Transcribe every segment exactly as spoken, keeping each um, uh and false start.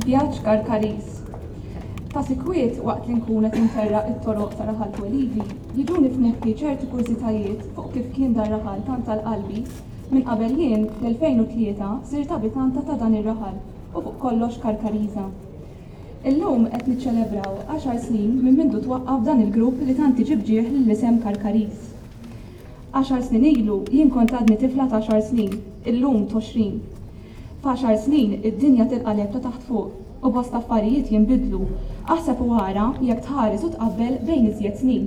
Vjaġġ Karkariż. Ta' sikwit waqt li nkun qed interraq it-toroq ta' raħal twelidi, jiġuni f'moħħi ċerti kurżitajiet fuq kif kien dar raħal tant għal qalbi minn qabel jien fl-elfejn u tlieta sirt abitanta ta' dan ir-raħal u fuq kollox Karkariża. Illum qed niċċelebraw għaxar snin minn mindu twaqqaf dan il-grupp li tant iġib ġieħ lill-isem Karkariż. Għaxar snin ilu jien kont għadni tifla ta' għaxar snin, illum t'għoxrin. F'għaxar snin id-dinja tinqaleb ta' taħt fuq u bosta affarijiet jinbidlu, aħseb u ara jekk tħares u tqabbel bejn iżjed snin.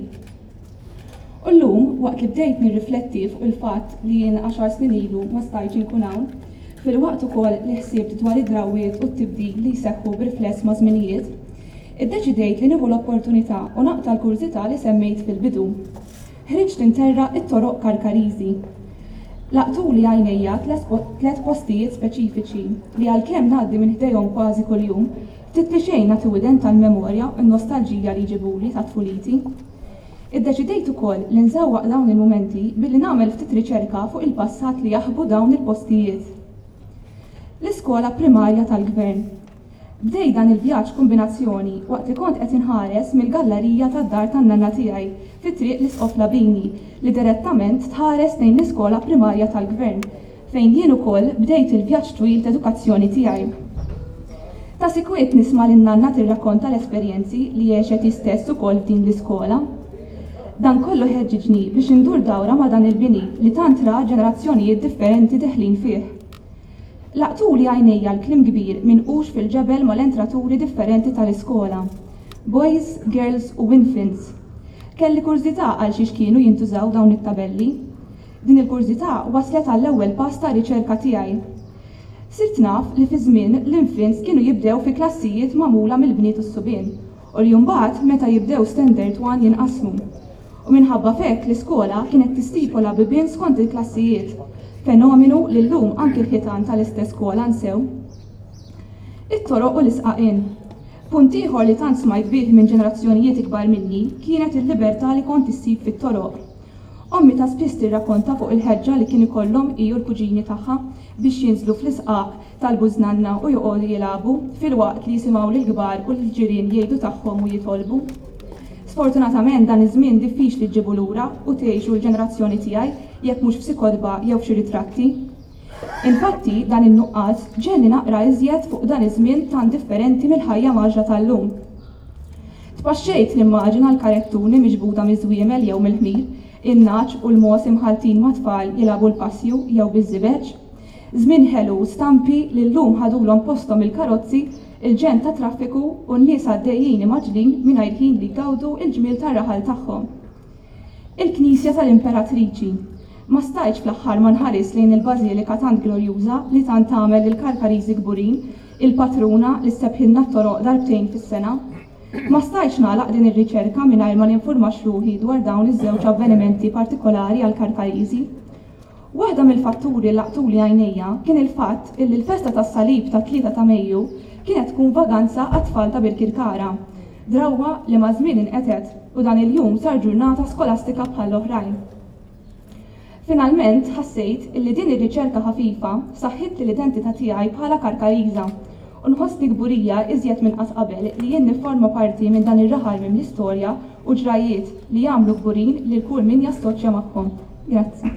U llum, waqt li bdejt nirrifletti fuq il-fatt li jien għaxar snin ilu ma stajtx inkun hawn, filwaqt ukoll li ħsibt dwar id-drawwiet u t-tibdil li jseħħu b'rifless ma' żminijiet, iddeċidejt li nieħu l-opportunità u naqta' l-kurżità li semmejt fil-bidu. Ħriġt interraq it-toroq Karkariżi. Laqtuli għajnejja tliet postijiet speċifiċi li għalkemm ngħaddi minn ħdejhom kważi kuljum, ftit li xejn nagħti widen tal-memorja u n-nostalġija li jġibuli ta' tfuliti. Iddeċidejt ukoll li nżewwaq dawn il-mumenti billi nagħmel ftit riċerka fuq il-passat li jaħbu dawn il-postijiet. L-iskola primarja tal-Gvern. Bdejt dan il-vjaġġ kombinazzjoni waqt li kont qed inħares mill-gallarija tad-dar tan-nanna tiegħi fi Triq l-Isqof Labini li direttament tħares lejn l-iskola primarja tal-Gvern fejn jien ukoll bdejt il-vjaġġ twil t'edukazzjoni tiegħi. Ta' sikwit nisma' lin-nanna tirrakkonta l-esperjenzi li għexet hi stess ukoll f'din l-iskola. Dan kollu ħeġġiġni biex indur dawra ma' dan il-bini li tant ra ġenerazzjonijiet differenti deħlin fih. Laqtuli għajnejja l-kliem kbir minqux fil-ġebel mal-entraturi differenti tal-iskola. Boys, girls u infants. Kelli kurżità għal xiex kienu jintużaw dawn it-tabelli. Din il-kurżità waslet għall-ewwel pass ta' riċerka tiegħi. Sirt naf li fi żmien l-infants kienu jibdew fi klassijiet magħmula mill-bniet u s-subien u li mbagħad meta jibdew Standard one jinqasmu. U minħabba f'hekk l-iskola kienet tistipola bibien skont il-klassijiet, fenomenu li llum anki l-ħitan tal-istess skola nsew. It-toroq u l-isqaqien. Punt ieħor li tant smajt bih minn ġenerazzjonijiet ikbar minni kienet il-libertà li kont issib fit-toroq. Ommi ta' spiss tirrakkonta fuq il-ħeġġa li kien ikollhom hi u l-kuġini tagħha biex jinżlu fl-isqaq tal-bużnanna u joqogħdu jilagħbu filwaqt li jisimgħu lill-kbar u lill-ġirien jgħidu tagħhom u jitolbu. Sfortunatament dan iż-żmien diffiċli ġġibu lura u tgħixu l-ġenerazzjoni tiegħi jekk mhux f'xi kotba jew f'xi ritratti. Infatti dan in-nuqqas ġegħelni naqra iżjed fuq dan iż-żmien tant differenti mill-ħajja mgħaġġla tal-lum. Tpaxxejt nimmaġina l-karettuni miġbuda miż-żwiemel jew mill-ħmir, in-nagħaġ u l-mogħoż imħalltin ma' tfal jilagħbu l-passju jew biż-żibeġ. Żmien ħelu stampi li llum ħadulhom posthom il-karozzi, il-ġenn ta' traffiku u n-nies għaddejjin imgħaġġlin mingħajr ħin li jgawdu l-ġmiel tar-raħal tagħhom. Il-Knisja tal-Imperatriċi. Ma stajtx fl-aħħar ma nħares lejn il-bażilika tant glorjuża li tant tagħmel lill-Karkariżi kburin, il-patruna li ssebħilna t-toroq darbtejn fis-sena. Ma stajtx nagħlaq din ir-riċerka mingħajr ma ninfurmax ruħi dwar dawn iż-żewġ avvenimenti partikolari għall-Karkariżi. Waħda mill-fatturi li laqtuli għajnejja kien il-fatt illi l-festa tas-Salib tat-tlieta ta' Mejju kienet tkun vaganza għat-tfal ta' Birkirkara, drawwa li maż-żmien inqetet u dan il-jum sar ġurnata skolastika bħall-oħrajn. Finalment ħassejt illi din ir-riċerka ħafifa saħħitli l-identità tiegħi bħala Karkariża u nħossni kburija iżjed minn qatt qabel li jien nifforma parti minn dan ir-raħal mimli storja u ġrajjiet li jagħmlu kburin lil kull min jassoċja magħhom. Grazzi.